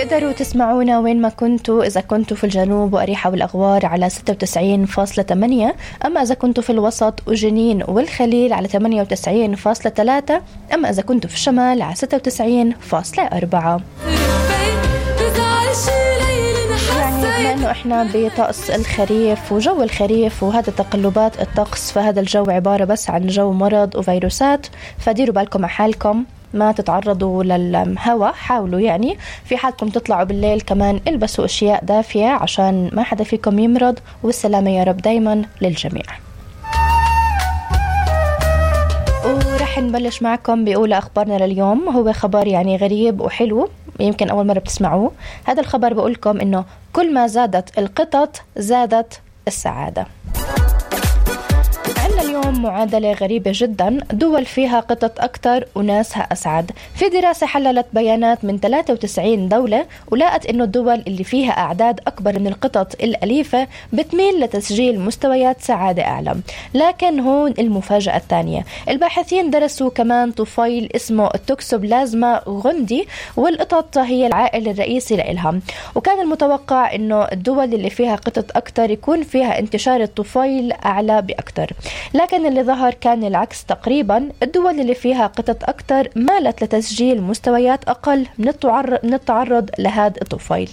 بتقدروا تسمعونا وين ما كنتوا، إذا كنتوا في الجنوب وأريحة والأغوار على 96.8، أما إذا كنتوا في الوسط وجنين والخليل على 98.3، أما إذا كنتوا في الشمال على 96.4. بما أنه إحنا بطقس الخريف وجو الخريف وهذا تقلبات الطقس، فهذا الجو عبارة بس عن جو مرض وفيروسات، فديروا بالكم على حالكم، ما تتعرضوا للهواء. حاولوا يعني في حالكم تطلعوا بالليل كمان البسوا أشياء دافية عشان ما حدا فيكم يمرض، والسلامة يا رب دايما للجميع. ورح نبلش معكم بأولى أخبارنا لليوم. هو خبر يعني غريب وحلو، يمكن أول مرة بتسمعوه. هذا الخبر بقولكم إنه كل ما زادت القطط زادت السعادة. عندنا اليوم معادلة غريبة جدا، دول فيها قطط أكتر وناسها أسعد. في دراسة حللت بيانات من 93 دولة ولقت إنه الدول اللي فيها أعداد أكبر من القطط الأليفة بتميل لتسجيل مستويات سعادة أعلى. لكن هون المفاجأة الثانية، الباحثين درسوا كمان طفيل اسمه التوكسوبلازما غوندي، والقطط هي العائل الرئيسي لإلها، وكان المتوقع إنه الدول اللي فيها قطط أكتر يكون فيها انتشار الطفيل أعلى بأكتر، لكن اللي ظهر كان العكس تقريبا. الدول اللي فيها قطط أكتر مالت لتسجيل مستويات أقل من التعرض لهذا الطفيل.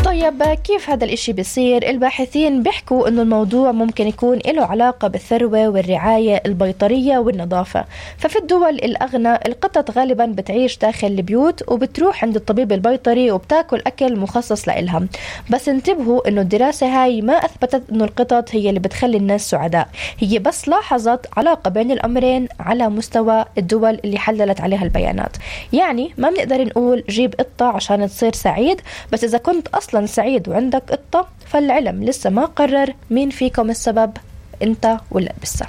طيب كيف هذا الاشي بيصير؟ الباحثين بيحكوا انه الموضوع ممكن يكون له علاقة بالثروة والرعاية البيطرية والنظافة. ففي الدول الأغنى القطط غالبا بتعيش داخل البيوت وبتروح عند الطبيب البيطري وبتاكل أكل مخصص لإلها. بس انتبهوا انه الدراسة هاي ما أثبتت انه القطط هي اللي بتخلي الناس سعداء، هي بس لاحظت علاقة بين الأمرين على مستوى الدول اللي حللت عليها البيانات. يعني ما بنقدر نقول جيب قطة عشان تصير سعيد، بس إذا كنت أصلا سعيد وعندك قطة فالعلم لسه ما قرر مين فيكم السبب، انت ولا لسه.